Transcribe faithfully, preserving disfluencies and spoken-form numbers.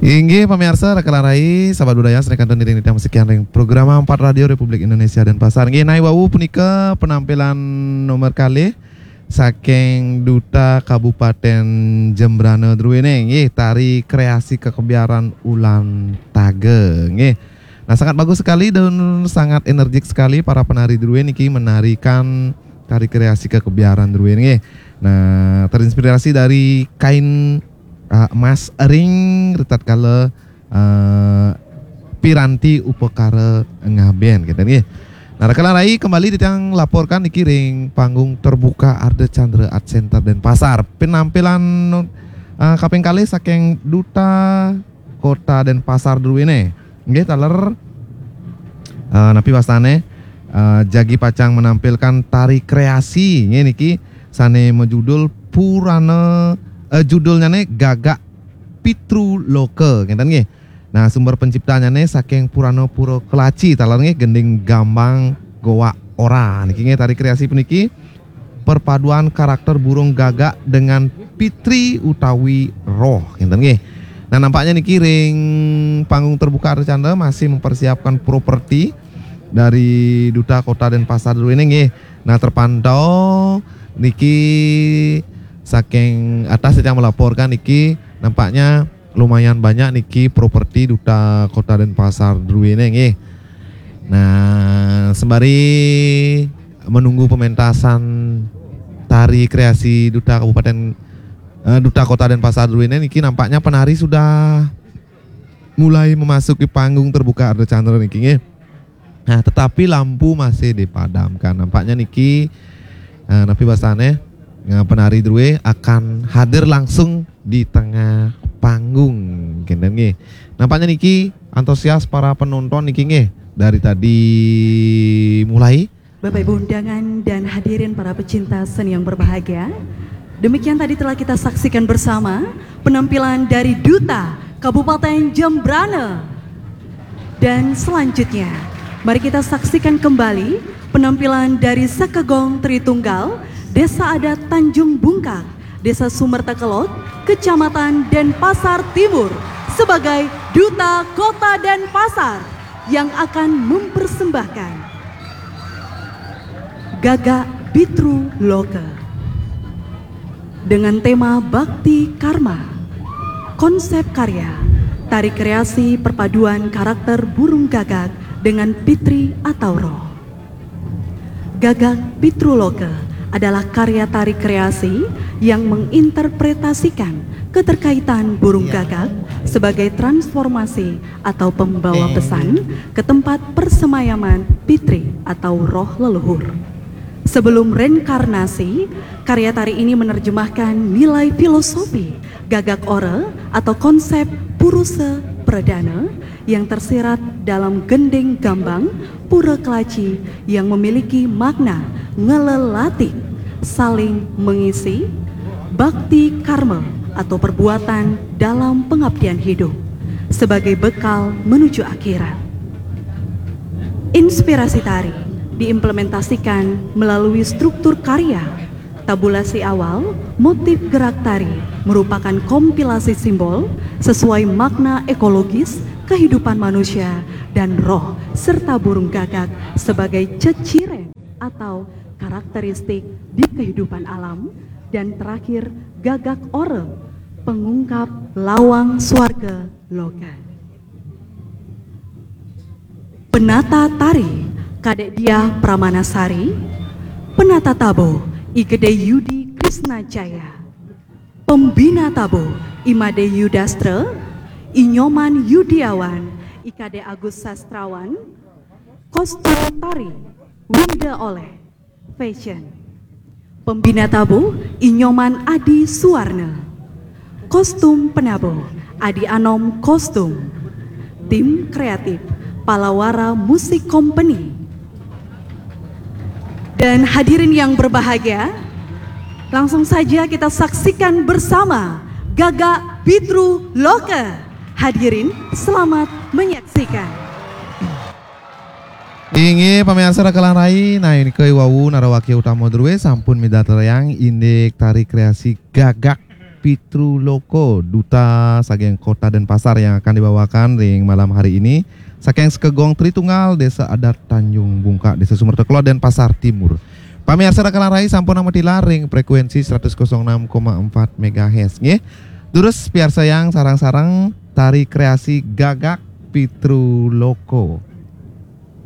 Inggih pamiarsa, raka lan rai, sahabat budaya, sané kantun iring titiang masikian ring program Empat Radio Republik Indonesia Denpasar. Inggih, nawi wau punika penampilan nomor kalih saking Duta Kabupaten Jembrana druéné, inggih, tari kreasi kekebiaran Ulan Taga, inggih. Nah, sangat bagus sekali dan sangat energik sekali para penari druéné niki menarikan tari kreasi kekebiaran druéné, inggih. Nah, terinspirasi dari kain, eh, emas ring ritatkala, eh, piranti upakara ngabén, gitu, nggih. Nah, raka lan rai, kembali titiang laporkan niki ring panggung terbuka Ardha Candra Art Center Denpasar. Penampilan, eh, kaping kalih saking Duta Kota Denpasar druéné. Nggih, taler, eh, napi wastané, eh, jagi pacang menampilkan tari kreasi, nggih, niki sané majudul Purana, eh, judulnyané Gagak Pitruloka, ngéten nggih. Nah, sumber penciptannyané saking Purana Pura Kelaci, taler nggih, gending gambang Goa Ora. Niki nggih, tari kreasi puniki perpaduan karakter burung gagak dengan pitri utawi roh, ngéten nggih. Nah, nampaknya niki ring panggung terbuka Ardha Candra masih mempersiapkan properti dari Duta Kota Denpasar druéné, nggih. Nah, terpantau niki saking atas yang melaporkan niki nampaknya lumayan banyak niki properti Duta Kota Denpasar druéné, nggih. Nah, sembari menunggu pementasan tari kreasi Duta Kabupaten, eh, Duta Kota Denpasar druéné niki, nampaknya penari sudah mulai memasuki panggung terbuka Ardha Candra niki, nggih. Nah, tetapi lampu masih dipadamkan. Nampaknya niki, eh, napi wastané, eh, penari drué akan hadir langsung di tengah panggung, ngéten nggih. Nampaknya niki antusias para penonton niki, nggih, dari tadi mulai. Bapak Ibu undangan dan hadirin para pecinta seni yang berbahagia, demikian tadi telah kita saksikan bersama penampilan dari Duta Kabupaten Jembrana. Dan selanjutnya, mari kita saksikan kembali penampilan dari Sekegong Tritunggal, Desa Adat Tanjung Bungkak, Desa Sumerta Kelod, Kecamatan Denpasar Timur, sebagai Duta Kota Denpasar yang akan mempersembahkan Gagak Pitruloka dengan tema Bakti Karma. Konsep karya, tari kreasi perpaduan karakter burung gagak dengan pitri atau roh. Gagak Pitruloka adalah karya tari kreasi yang menginterpretasikan keterkaitan burung gagak sebagai transformasi atau pembawa pesan ke tempat persemayaman pitri atau roh leluhur. Sebelum reinkarnasi, karya tari ini menerjemahkan nilai filosofi Gagak Ora atau konsep Purusa Pradana yang tersirat dalam gending gambang Pura Kelaci yang memiliki makna ngelelati, saling mengisi, bakti karma atau perbuatan dalam pengabdian hidup sebagai bekal menuju akhirat. Inspirasi tari diimplementasikan melalui struktur karya. Tabulasi awal, motif gerak tari merupakan kompilasi simbol sesuai makna ekologis kehidupan manusia dan roh, serta burung gagak sebagai ceciren atau karakteristik di kehidupan alam, dan terakhir, Gagak Ora, pengungkap lawang swarga loka. Penata tari, Kadek Diah Pramanasari. Penata tabuh, I Gede Yudi Krisna Jaya. Pembina tabuh, I Made Yudastra, I Nyoman Yudiawan, I Kade Agus Sastrawan. Kostum tari, Winda Oleh. Fashion. Pembina tabuh, I Nyoman Adi Suwarna. Kostum penabuh, Adi Anom Kostum. Tim kreatif, Palawara Music Company. Dan hadirin yang berbahagia, langsung saja kita saksikan bersama Gagak Pitruloka. Hadirin, selamat menyaksikan. Inggih, pamiarsa raka lan rai, nah, nika wau narawakya utama drué sampun midartayang indik tari kreasi Gagak Pitruloko, duta saking Kota Denpasar yang akan dibawakan ring malam hari ini saking Sekegong Tritunggal, Desa Adat Tanjung Bungka, Desa Sumerta Kelod, Denpasar Timur. Pamiarsa Raka Rai sampun nametilar ring frekuensi seratus kosong enam koma empat megahertz nggih. Durus piarsa yang sareng-sareng tari kreasi Gagak Pitruloko.